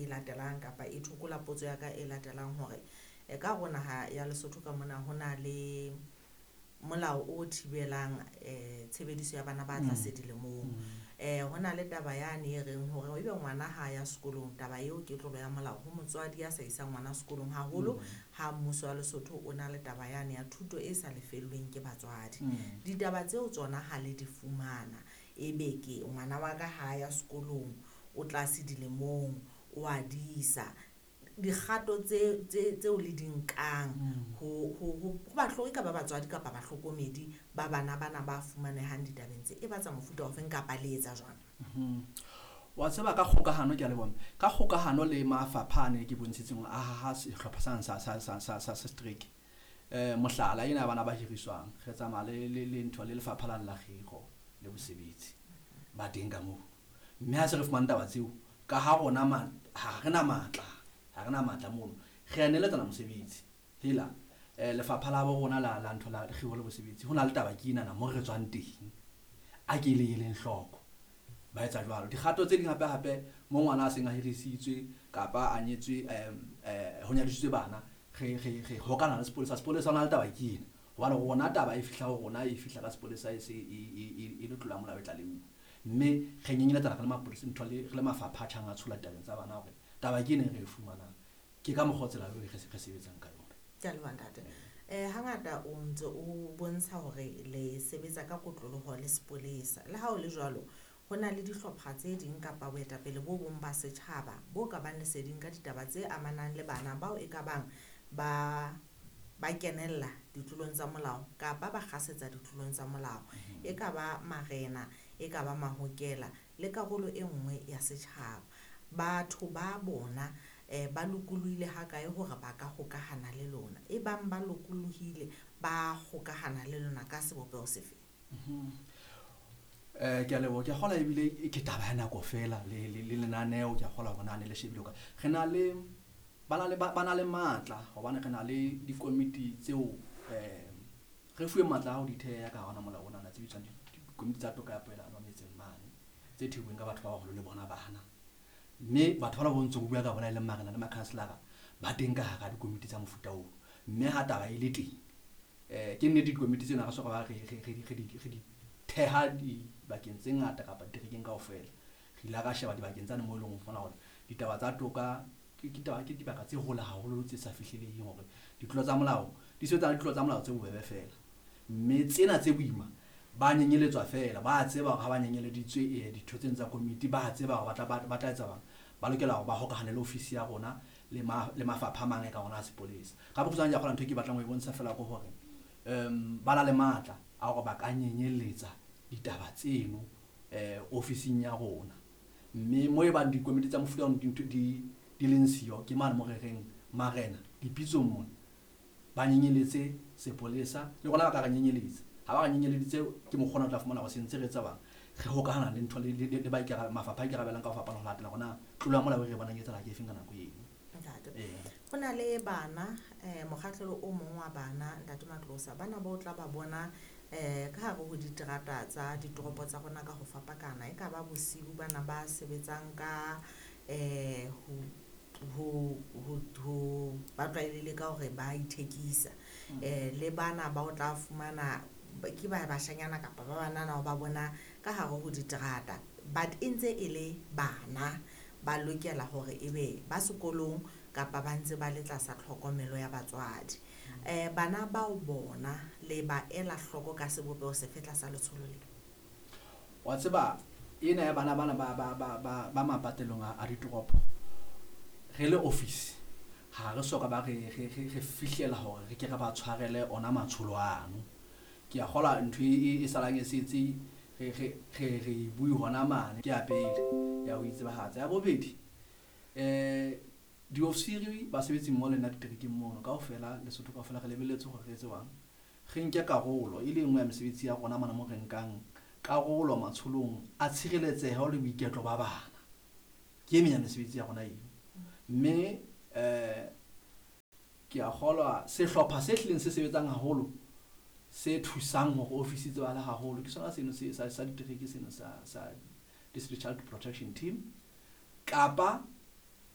e latelang kapa e thokola potso ya ka e latelang hore ka hare ho naha ya Lesotho ka mona ho na le molao o thibelang tshebediso ya bana ba tlase dilemong. Ho na le taba yane e reng hore ebe ngwana ha ya sekolong, taba eo ke tlolo ya molao ho motswadi ya sa isang ngwana sekolong, haholo ha mmuso wa Lesotho o na le taba yane ya thuto e sa lefellweng ke batswadi. Ditaba tseo tsona ha le di fumana, ebe ke ngwana wa ka ha ya sekolong, o tlase dilemong, o a disa, dikgato tseo le di nkang ho e ka ba batswadi kapa bahlokomedi ba bana bana ba fumanehang ditabeng tse, e ba tsa mofuta ofeng kapa le etsa jwang? Wa tseba ka kgokahano, ke a leboha. Ka kgokahano le mafapha ane ke bontshitseng hore a haha sehlopha sane sa setereke. Mohlala ena bana ba hiriswang, re tsamaya le ntho le lefapha la la kgiro le bosebetsi ba teng ka moo. Mme ha se re fumane taba tseo, ka ha rona ha re na matla, ha re na matla mono, re a neletsana mosebetsi. Hela, lefapha la bo rona la ntho la kgiro le bosebetsi, ho na le taba ke enana mo re tswang teng, a ke le eleng hloko. Ba etsa jwalo. Dikgato tse ding hape hape, mo ngwana a seng a hirisitswe kapa a nyetswe, ho nyadisitswe bana, re hokana le sepolesa. Sepolesa ho na le taba ke ena. Hobane rona taba e fihla ho rona, e fihla ka sepolesa e se e le tlolo ya molao e tlaleuwe. Mme re nyenyeletsana re le mapolesa, ntho le, re le mafapha a tjhang a tshola ditabeng tsa bana hore taba ke ena e re e fumanang. Ke ka mokgwa o tsela eo re sebetsang ka yona. Ke a leboha ntate. Hangata o ntse o bontsha hore le sebetsa ka kotloloho le sepolesa. Le ha ho le jwalo, ho na le dihlopha tse ding kapa boetapele bo bong ba setjhaba bo ka bang leseding ka ditaba tse amanang le bana bao e ka bang ba kenella ditlolong tsa molao kapa ba kgasetsa ditlolong tsa molao. E ka ba marena, e ka ba mahokela le karolo e nngwe ya setjhaba. Batho ba bona ba lokolohile ha kae hore ba ka hokahana le lona? E bang ba lokolohile, ba hokahana le lona ka sebopeho sefe? Ke a leboha. Ke a kgolwa ebile ke taba ya nako feela le lenaneo, ke a kgolwa hore na ne le shebile ka. Re na le, ba na le, ba na le matla hobane re na le dikomiti tseo, re fuwe matla a ho di theha ka hona molao ona, tse bitswang dikomiti tsa toka ya poelano metseng mane, tse thehilweng ka batho ba baholo le bona bana. Mme batho bana bo ntse o bua ka bona e leng marena le makhanselara ba teng ka hara dikomiti tsa mofuta oo. Mme ha taba e le teng, ke nnete dikomiti tsena re soka ba re di theha dibakeng tse ngata kapa diterekeng kaofela. Re ile ra sheba dibakeng tsane moo e leng ho fumana hore ditaba tsa toka ke taba, ke dibaka tse hole haholo tse sa fihleleheng hore ditlolo tsa molao di sebetsa le ditlolo tsa molao tse bobebe feela. Mme tsena tse boima ba nyenyeletswa feela, ba tseba hore ha ba nyenyeleditswe, ditho tsena tsa komiti, ba tseba hore ba tla etsa bang. Ba lokela hore ba hokahane le ofisi ya rona le mafapha a mang e ka rona a sepolesa. Ka bokgutshwane ke a kgolwa ntho e ke batlang ho e bontsha feela ke hore, ba na le matla a hore ba ka nyenyeletsa ditaba tseno, ofising ya rona. Mme mo e bang dikomiti tsa mofuta ono di leng siyo, ke mane mo re reng marena dipitsong mona ba nyenyeletse sepolesa, le rona ba ka re nyenyeletsa. Ha ba re nyenyeleditse, ke mokgwa ona o tla fumana hore se ntse re etsa bang, re hokahana le ntho le ba mafapha a ikarabellang ka ho fapana ho latela hore na tlolo ya molao e re bonang e etsahala ke efeng ka nako eno. Ntate. Ho na le bana, mokgahlelo o mong wa bana, Ntate Matlosa, bana ba o tla ba bona, ka hare ho diterata tsa ditoropo tsa rona ka ho fapakana. E ka ba bosiu bana ba sebetsang ka, ho ba tlwaelehile ka hore ba ithekisa. Le bana ba o tla fumana ke ba bashanyana kapa ba banana ba bona ka hare ho diterata, but e ntse e le bana ba lokela hore ebe ba sekolong kapa ba ntse ba le tlasa tlhokomelo ya batswadi. Bana bao bona le ba ela hloko ka sebopeho sefe tlasa letsholo le? Wa tseba ena ya bana bana ba mapatelong a ditoropo, re le office ha re soka ba re fihlela hore re ke re ba tshwarele ona matsholo ano. Ke a kgolwa ntho e salang e setse re e bue hona mane. Ke ya pele ya ho itsebahatsa. Ya bobedi, diofisiri basebetsi mmoho le nna diterekeng mono kaofela, Lesotho kaofela re lebelletse hore re etse jwang, re nke karolo e le nngwe ya mesebetsi ya rona mona mo re nkang karolo matsholong a tshireletseho le boiketlo ba bana. Ke e meng ya mesebetsi ya rona eo. Mme, ke a kgolwa sehlopha se hlileng se sebetsang haholo, se thusang hore ofisi e tsebahale haholo, ke sona seno se, sa ditereke seno sa District Child Protection Team, kapa